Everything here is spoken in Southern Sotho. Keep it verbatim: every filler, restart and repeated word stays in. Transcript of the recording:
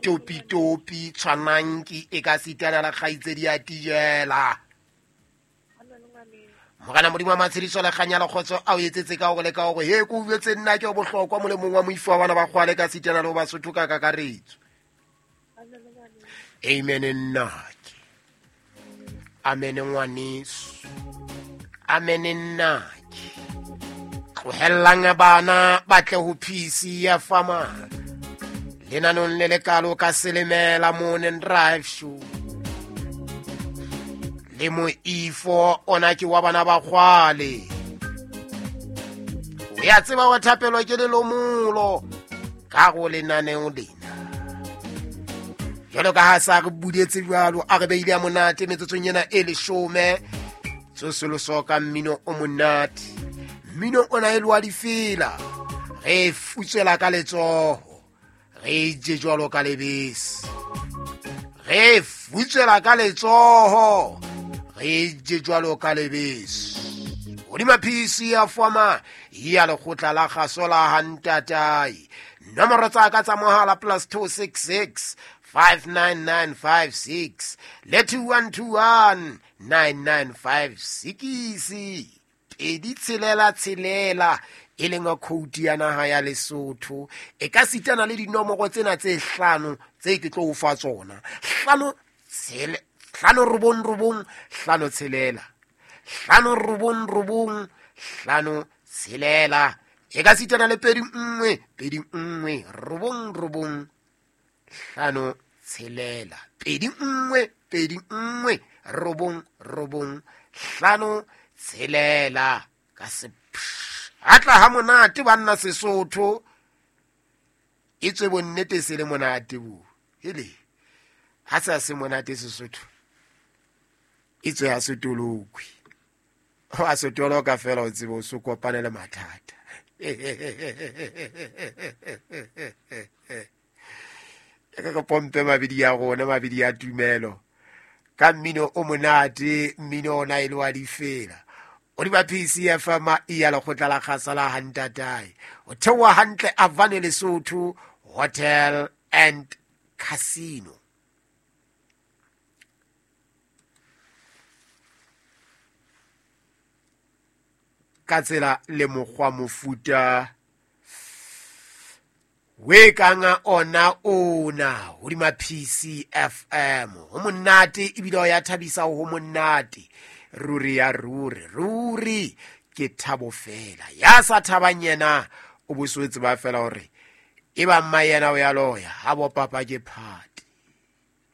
Topitopi tshwananki e ka sitana la kgaitsedi ya Tijela. Morena Modimo wa matshediso le kganya le kgotso a o etsetse ka hore le ka hore he ko uetse nna ke o bohlokwa molemong wa moifo wa bana ba kgwale ka sitana le ho Basotho ka kakaretso. Amen nnake. Amen ngwaneso. Amen nnake. Tlohellang bana ba tle ho P C ya fama. Lenanong le lekalo ka Selemela Morning Drive Show. Le moifo ona ke wa bana ba kgwale. O ya tseba wa thapelo ke lelomulo ka go lenaneo lena. Jwalo ka ha sa re budetse jwalo a re beile ya monate metsotsong ena e leshome. Tsosoloso ka mmino o monate. Mmino ona e lwa difela. Re futswela ka letsoho. Re je jwalo ka lebese. Re futswela ka letsoho. Re je jwalo ka lebese. Hodima P C ya foma ya lekgotla la kgaso la Hantatae. Nomoro tsa ka tsa mohala plus two six six five nine nine five six le two one two one nine nine five six. Pedi tshelela tshelela e leng khoutu ya naha ya Lesotho. E ka sitana le dinomoro tsena tse hlano tse ke tlo o fa tsona. Hlano tshele hlano robong robong hlano tshelela. Hlano robong robong hlano tshelela. E ka sitana le pedi nngwe pedi nngwe robong robong hlano tshelela. Pedi nngwe pedi nngwe robong robong hlano tshelela. Ka se atla ha monate banna Sesotho. E tswe bonnete se le monate bo. Hele. Ha sa se monate Sesotho. E tswe ha se tolokwe. Ha se toloka fela o tsebe o se kopane le mathata. E ka pompe mabidi ya rona mabidi ya tumelo. Ka mmino o monate mmino ona e le wa difela. O di ba P C F M ya lekgotla la kgasa la Hantatae. O theoha hantle Avane Lesotho Hotel and Casino. Ka tsela le mokgwa mofuta we kanga ona ona hodima P C F M. Ho monate ebile o ya thabisa ho monate. Ruri ya ruri ruri ke thabo fela. Ya sa thabang yena o boswetse ba fela hore e ba mma yena o ya loya ha bo papa ke phate.